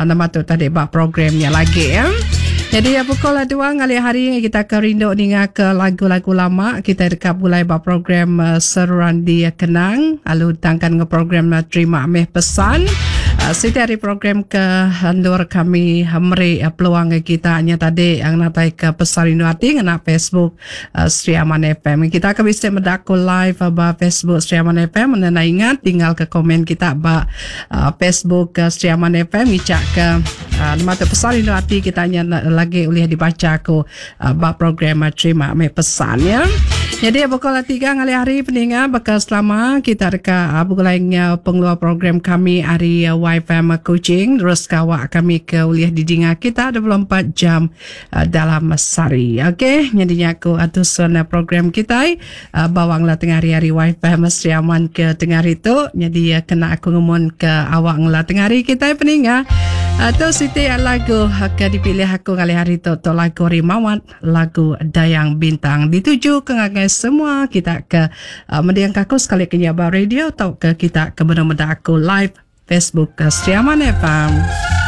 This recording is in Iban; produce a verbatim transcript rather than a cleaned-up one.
uh, nama tu tadi ba program nya lagi ya. Jadi ya, pukul dua ngalih hari kita ke rindu ninga ke lagu-lagu lama kita dekat bulai ba program uh, Seruran Dikenang lalu tangkan nge program uh, Terima Meh Pesan. Uh, siti hari program ke endur kami meri uh, peluang ke kita nya tadi yang natai ke pesan rindu ati ngena Facebook uh, Sri Aman F M. Kita akan bisa medaku live uh, ba Facebook Sri Aman F M. Enda ingat tinggal ke komen kita ba uh, Facebook uh, Sri Aman F M ngicak ke uh, nama tu pesan rindu ati kita nya lagi boleh dibaca aku uh, ba program uh, Terima Meh Pesan ya. Jadi pukul tiga ngalih hari peninga, bakal selama kita reka uh, begulai pengeluar program kami hari uh, Y F M Kuching terus kawak kami ke uliah didinga kita dua puluh empat jam uh, dalam sari. Okey, jadinya aku atusan uh, program kita uh, bawang lah tengah hari-hari Y F M Sri Aman ke tengah hari tu. Jadi uh, kena aku ngumun ke awak ngela tengah hari kita peninga. Atau siti lagu ke dipilih aku kali hari tu tu lagu Rimawat, lagu Dayang Bintang, dituju ke ngagai semua kita ke uh, mendiang aku sekali ke nyaba radio atau ke kita ke benar-benar aku live Facebook ke Sri Aman F M.